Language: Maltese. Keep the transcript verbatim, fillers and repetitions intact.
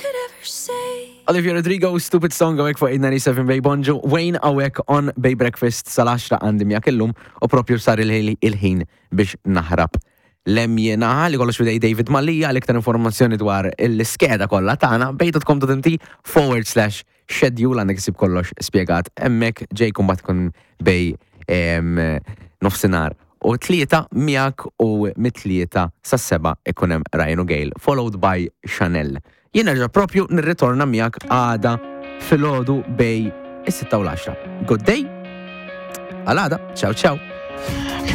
could ever say? Olivia Rodrigo, Stupid Song hawnhekk fuq eight ninety-seven Bay. Bonġu, Wayne hawnhekk on Bay Breakfast sal-għaxra għandi miegħek illum u propju sar il- il-ħin biex naħrab. Lem jena li kollox f'idej David Mallia. Għal iktar informazzjoni dwar l-iskeda kollha tagħna, bay dot com dot M T forward slash schedule għandek issib kollox spjegat hemmhekk. Ġejkum bat kun bejn em, nofsinhar u tlieta miegħek u mit-tlieta sas-sebgħa ikun hemm Ryan u Gail, followed by Chanel. Jien nerġa' propju nirritorna miegħek għada filgħodu bejn is-sitta u l-għaxra. Good day. Għal għada. Ciao ciao.